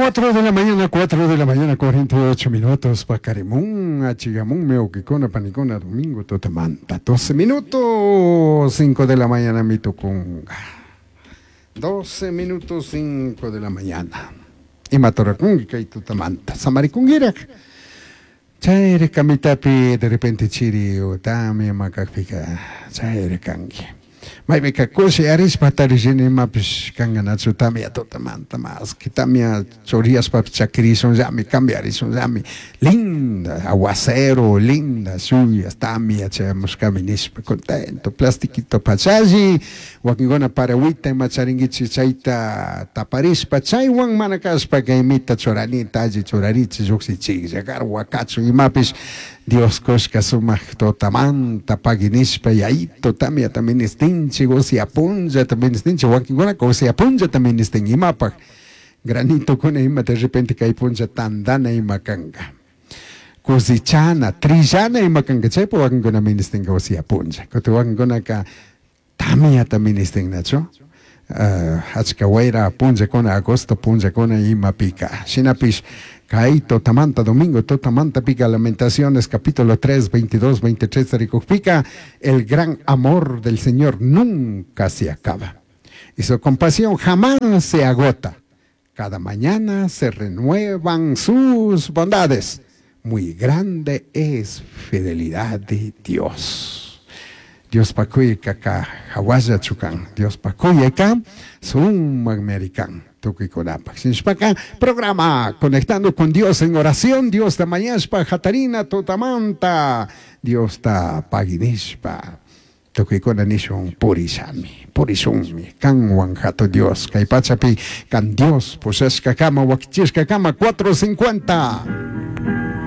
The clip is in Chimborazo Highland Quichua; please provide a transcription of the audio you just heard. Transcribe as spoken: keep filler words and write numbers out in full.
Cuatro de la mañana, cuatro de la mañana, cuarenta y ocho minutos. Paqarimun, achigamunmi, wawqikuna, panikuna, domingo, tutamanta. doce minutos, cinco de la mañana, mi tukunga. doce minutos, cinco de la mañana. Imata rurakunki kay tutamanta. Samarikungiraq. Chayri kamitapi de repente chiri tamia makakpika chayri kanki. Maypika kushi arishpa tarishini imapish kanganachu tamia tutamanta más que tamia choriyashpapish chakirishunllami cambiarishunllami linda aguacero linda lluvias tamia chayamushkami nishpa contento plastiquito pachalli wakinkuna paraguita ima charinkichik chayta taparishpa chaywan mana kashpa kaymita churanita alli churarichik llukshichiklla garwa kachun imapish Dios kushka sumak tutamanta pagui nishpa yayito tamiata ministinchik usya punllata ministinchik wakinkunaka usya punllata ministin imapak granitokuna ima de repente kay punlla tandana ima kanka cosechana trillana ima kanka chaypa wakinkuna ministinka usya punlla kutin wakinkunaka tamiata ministin nachu uh, achka wayra punllakuna agosto punllakuna imapika shinapish kay tutamanta domingo tutamanta pica Lamentaciones capítulo tres, veintidós, veintitrés rikukpika el gran amor del Señor nunca se acaba y su compasión jamás se agota. Cada mañana se renuevan sus bondades. Muy grande es fidelidad de Dios. Dios pakuyka hawalla chukan. Dios pakuyka sumakmi kan. Tukuykunapak. Shinashpaka programa Conectando con Dios en oración. Dios ta mañashpa hatarina tutamanta. Dios ta paginishpa. Tukuykuna nishun purishami, purishunmi, kanwan hatu Dios, kay pachapi kan Dios pushashka kama wakichishka kama cuatro cincuenta.